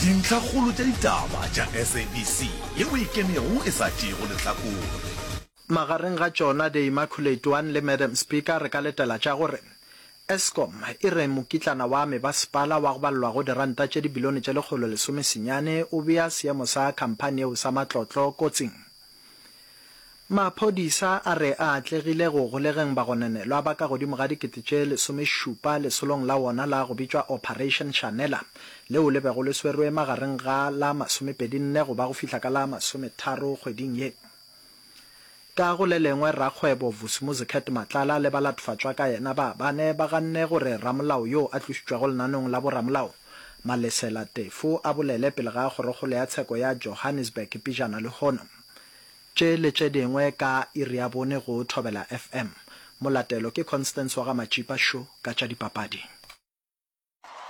Dintlhakgolo tša ditaba tša SABC yeo e kenego e sa tšeego lehlakore. Magareng ga tšona The Immaculate One le Madam Speaker re ka letela tša gore Eskom e re mokitlana wa mebasepala wa go balelwa go diranta tše dibilione tše 119 o bea seemo sa khamphani yeo sa matlotlo kotsing. Maphodisa a re a atlegile go golegeng bagononelwa ba ka godimo ga 17,000 lesolong la wona la go bitšwa Operation Shanela leo le bego le swerwe magareng ga la masomepedi-nne go ba go fihla ka la masometharo kgweding ye. Ka go le lengwe rakgwebo Vusimuzi Cat Matlala le balatofatšwa ka yena ba bane ba ganne gore ramolao yo a tlošitšwego lenaneong la boramolao Malesela Tefo a bolele pele ga kgorokgolo ya tsheko ya Johannesburg pejana lehono. Tše le tše dingwe ka iri ya bone go Thobela FM. Molatelo ke Constance wa ga Matšipa Sho ka tša dipapadi.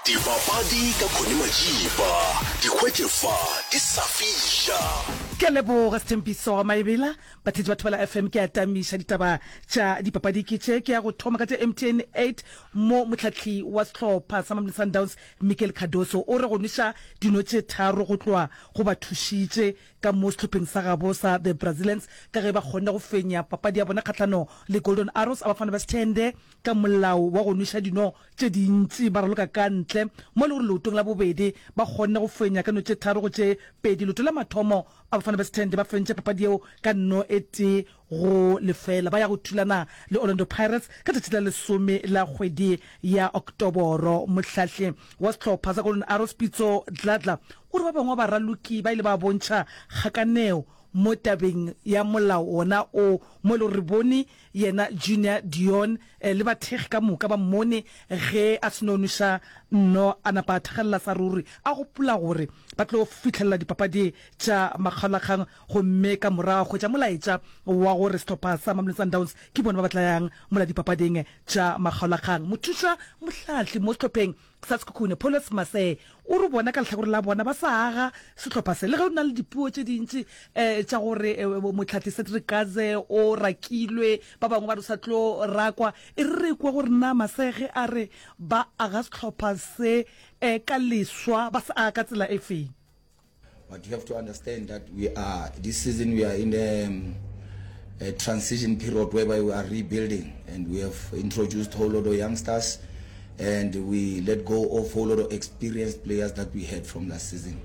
Dipapadi ka Connie Matšipa, di hwetše fa di sa fiša. Ke a leboga Sthembiso Maebela. Batheetši ba Thobela FM, ke a tamiša ditaba tša dipapadi ke tše. Ke ya go thoma ka tše MTN 8 mo mohlahli wa sehlopha sa Mamelodi Sundowns Miguel Cardoso o re go nweša dino tše tharo go tloga go ba thušitše ka mo sehlopheng sa gabo sa The Brazilians ka ge ba kgonne go fenya papadi ya bona kgahlano le Golden Arrows a Bafana ba Sthende ka molao wa go nweša dino tše dintši ba raloka ka ntle mo e le gore leotong la bobedi ba kgonne go fenya ka no tše tharo go tše pedi. Leoto la mathomo a Bafana ba Sthende ba fentše papadi yeo ka no e tee go lefela. Ba ya go thulana le Orlando Pirates ka tšatši la lesome la kgwedi ya Oktoboro. Mohlahli wa sehlopha sa Golden Arrows Pitso Dladla o re ba bangwe ba baraloki ba ile ba bontšha kgakaneo mo tabeng ya molao wona o, mo e le gore re bone yena Junior Dion le bathekgi ka moka ba mmone ge a seno nweša nno a napa a thakgalela sa ruri a gopola gore ba tlo fihlelela dipapadi tša makgaolakgang gomme ka morago a hwetša molaetša wa gore sehlopha sa Mamelodi Sundowns ke bona ba ba tla yang mola dipapading tša makgaolakgang. Mothuša mohlahli mo sehlopheng sa Sekhukhune, Paulus Masee, o re bona ka lehlakore la bona ba sa aga sehlopha se le ge o na le dipuo tše dintši tša gore mohlahli Cedric Kaze o rakilwe, ba bangwe ba re o sa tlo rakwa. E re re kwe gore na Masee ge a re ba aga sehlopha se ka leswa ba se aga ka tsela e feng. But you have to understand that we are, this season we are in a, um, a transition period whereby we are rebuilding and we have introduced whole lot of youngsters and we let go of whole lot of experienced players that we had from last season.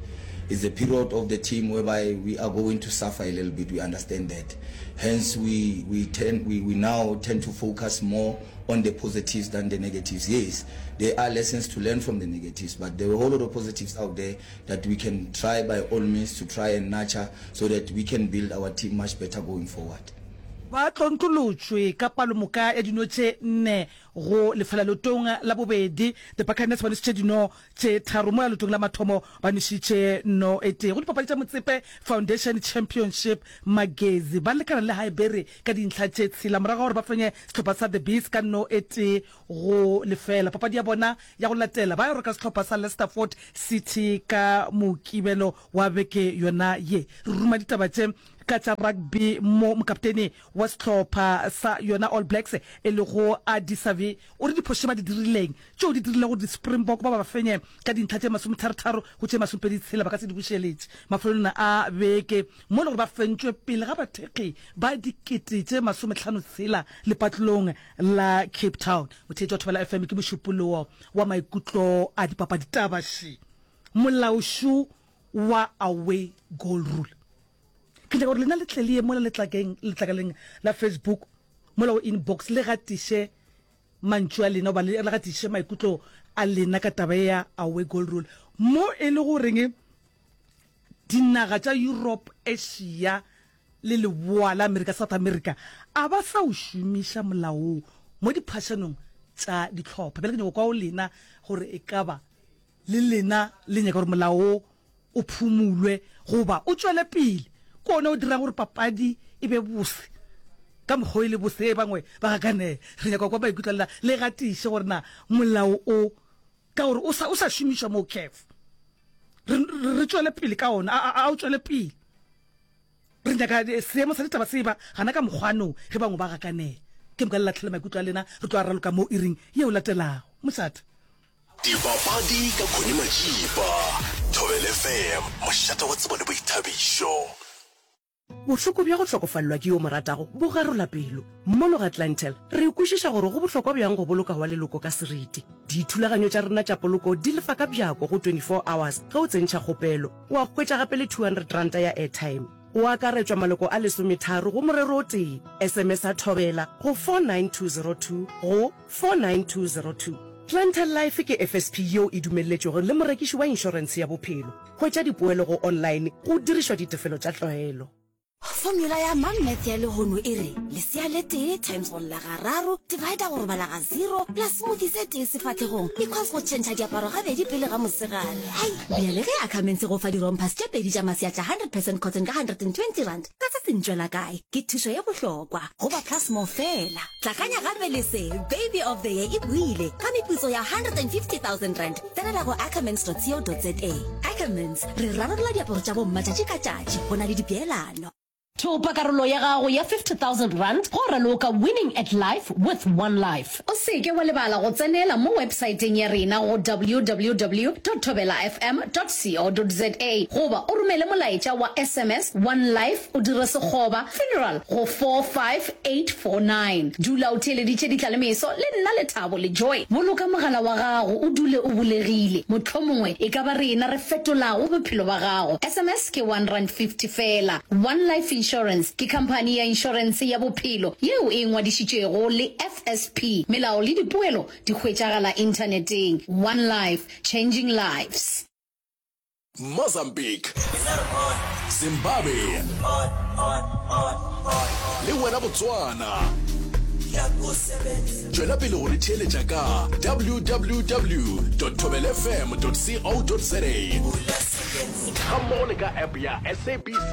It's a period of the team whereby we are going to suffer a little bit. We understand that. Hence, we, we, tend, we, we now tend to focus more on the positives than the negatives. Yes, there are lessons to learn from the negatives, but there are a whole lot of positives out there that we can try by all means to try and nurture so that we can build our team much better going forward. Ba tlontlolotšwe ka palomoka ya dino tše nne go lefela leotong la bobedi. The Buccaneers ba nwešitše dino tše tharo mola leotong la mathomo ba nwešitše no e tee. Go dipapadi tša Motsepe Foundation Championship, Magezi ba lekana le Highbury ka dintlha tše tshela morago ga gore ba fenye sehlopha sa The Bees ka no e tee go lefela. Papadi ya bona ya go latela ba yo reka sehlopha sa Leicesterford City ka Mokibelo wa beke yona ye. Re ruma ditaba tše ka tša rugby mo mokaptene wa sehlopha sa yona All Blacks e lego Ardie Savea o re diphošo tše ba di dirileng tšeo di dirilego gore di-Springbok ba ba fenye ka dintlha tše masometharetharo go tše masomepeditshela ba ka se di bušeletše mafelelong a beke mo e le gore ba fentšwe pele ga bathekgi ba dikete tše masometlhanotshela lepatlelong la Cape Town. Motheetši wa Thobela FM ke mošupologo wa maikutlo a dipapadi taba še molao šo wa away goal rule. Ke nyaka gore lena le tle le ye mola letlakeng letlakaleng la Facebook mola go inbox le gatiše mantšu a lena goba le gatiše maikutlo a lena ka taba ya away goal rule mo e le goreng dinaga tša Europe, Asia le Leboa la Amerika, South America, a ba sa o šomiša molao wo mo diphašanong tša dihlopha. Bjale ke nyaka go kwa go lena gore e ka ba le lena le nyaka gore molao wo o phumulwe goba o tšwele pele. Ke wona o dirang gore papadi e be bose ka mokgwa o e le bose. Ge bangwe ba gakanega, re nyaka go kwa maikutlo a lena. Le gatiše gore na molao o, ka gore o sa, o sa šomišwa mo CAF, re, re tšwele pele ka wona, a, a, a o tšwele pele. Re nyaka seemo sa ditaba se eba gana ka mokgwa no ge bangwe ba gakanega. Ke moka le lahlele maikutlo a lena, re tlo a raloka mo iring yeo latelago. Mošate. Dipapadi ka Connie Majiba, Thobela. FM, mošate wa tsebo le boithabišo. Bohloko bja go hlokofalelwa ke yo o mo ratago bo garola pelo. Mono ga Clientele, re kwešiša gore go bohlokwa bjang go boloka wa leloko ka seriti. Dithulaganyo tša rena tša poloko di lefa ka bjako go 24 hours ge o tsentšha kgopelo. Wa hwetša gape le R200 ya airtime. Go akaretšwa maloko a lesometharo go morero o tee. SMS-a Thobela go 49202 go 49202. Clientele Life ke FSP yeo e dumelletšwego le morekiši wa inšorentshe ya bophelo. Hwetša dipoelo go online go dirišwa ditefelo tša tlwaelo. Formula ya Mom Math ya lehono e re, lesea le tee times go lla gararo, divider go robala ga zero, plus smoothie se tee sefahlegong, equals go tšhentšha diaparo gabedi pele ga mosegare. Hai! Bjale ge Ackermans e go fa di-rompers tše pedi tša masea tša 100 percent cotton ka R120, ka se se ntšwela kae? Ke thušo ye bohlokwa go ba Plus More feela. Tlakanya gape le se, Baby of the Year e boile ka meputso ya R150 000. Tsenela go ackermans.co.za. Ackermans, re rarolla diaparo tša bomma tšatši ka tšatši go na le dipeelano. Thopa karolo ya gago ya R50,000 go raloka Winning at Life with One Life. O se ke wa lebala go tsenela mo websaeteng ya rena go www dot thobelafm dot co dot za goba o romele molaetša wa sms One Life o dire sekgoba funeral go 45849. Dula o theeleditše ditlalemeso le nna Lethabo le Joy. Boloka mogala wa gago o dule o bulegile. Mohlomongwe e ka ba rena re fetolago bophelo ba gago. Sms ke R1.50 feela. One Life Insurance ke khamphani ya inšorense ya bophelo yeo e ngwadišitšwego le FSP. Melao le dipoelo di hwetšagala inthaneteng. One Life, changing lives. Mozambique, Zimbabwe le wena Botswana. Tšwela pele go re theeletša ka www.thobelfm.co.za gammogo le ka app ya SABC.